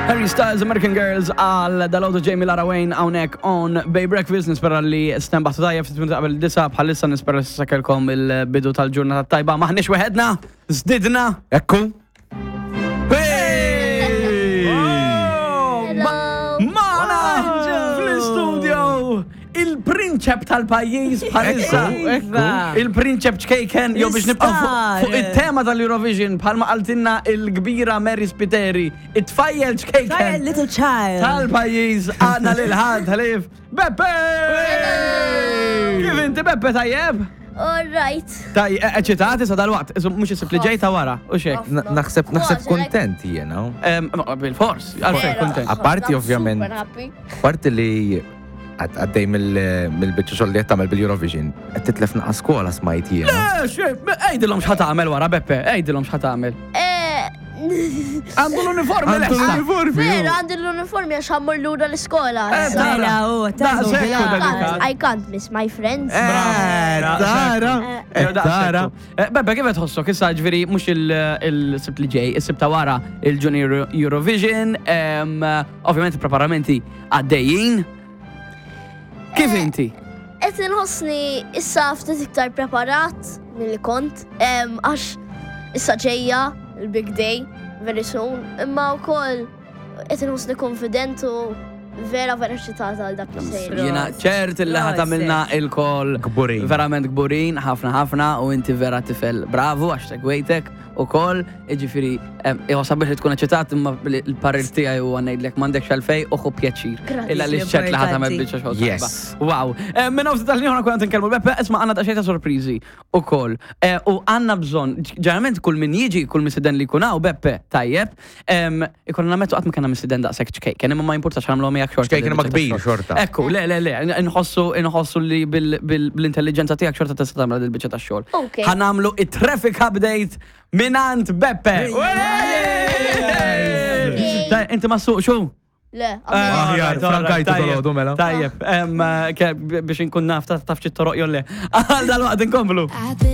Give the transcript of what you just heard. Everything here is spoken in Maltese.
Harry Styles, American Girls, għal dal-għodu Jamie Lara Wayne hawnhekk on Bay Breakfast, nispera li stenbaħtu tajjeb ftit minuti qabel disa bħalissa nispera li sakelkom il-bidu tal-ġurnata tajba. Maħniex weħedna, zdidna. Ekku. Hey! Hello. Mana fl-studio il-prinċep tal-pajjiż bħalissa. Ekku, ekku. Il-prinċep ċkejken, jew biex nibqgħu fuq L-istar. fuq it-tema tal-Eurovision bħalma qaltilna il-kbira Mary Spiteri, it-tfajjel Try a ċkejken little child. tal-pajjiż għandna lil ħadd ħlief Beppe! Kif inti Beppe tajjeb? All right. Taj, eċitati sa dal-waqt, mhux isib li ġejta wara, u xek. Naħseb naħseb Kważi, kontent jiena. Bil-fors, għalfejn kontent. Apparti, I'm ovvjament. Super happy. Parti li għaddej mill-biċċa xogħol li qed tagħmel bil-Eurovision, qed titlef naqa' skola smajt jiena. Eh, Għidilhom x'ħa tagħmel wara Beppe, għidilhom x'ħa tagħmel. Eh, Għandu l-uniformi Għandu lesta. l-uniformi. Vera, għandi l-uniformi għax ħammur lura l-iskola. Eh, issa. tara. Mela, u, Daqshekk tażu, u dedikat. I can't miss my friends. Eh, tara. Eh, Eh, tara. Eh, Beppe, kif qed tħossok issa ġifieri mhux il-sibt li ġej, is-sibt ta' wara il-Junior Eurovision, em, ovvjament il-preparamenti għaddejjin. Kif inti? Qed inħossni issa ftit iktar preparat milli kont, em, għax issa ġejja il-big day very soon, imma wkoll qed inħossni konfident u vera vera eċitata għal dak li sejjer. Jiena ċert il ħa tagħmilna il-kol Kburin. Verament kburin, ħafna ħafna u inti vera tifel bravu għax segwejtek u kol, iġifiri, iħosab biex li tkun eċitat imma l-parir tiegħi huwa ngħidlek m'għandekx għalfej u ħu pjaċir. Grazzi. Illa li xċert li ħa tagħmel Importanti. biċċa xogħol tajba. Yes. Wow. Minn hawn tal ħna konna tinkellmu Beppe, isma' għandna daqsxejn ta' sorpriżi ukoll. U għandna bżonn, ġeneralment kull min jiġi, kull misiden li jkun hawn Beppe tajjeb, ikollna nammettu qatt ma kellna misiden daqshekk ċkejken, imma ma jimpurtax nagħmluhom miegħek xorta. Ċkejken imma din biċċa kbir ta' xogħol. xorta. Ekku, le, le, le, nħossu, nħossu li bil-intelligenza tiegħek xorta tista' tagħmel dil-biċċa tax-xogħol. Ok. Ħa nagħmlu it-traffic update minant Beppe. Taj, Inti ma suq xu? Le, Eh, għamil. Aħjar, frankajtu dal-għodu, mela. Tajjeb, em, ke- biex inkun naf taf xi toroq jew le. Għal dal-waqt inkomplu. At this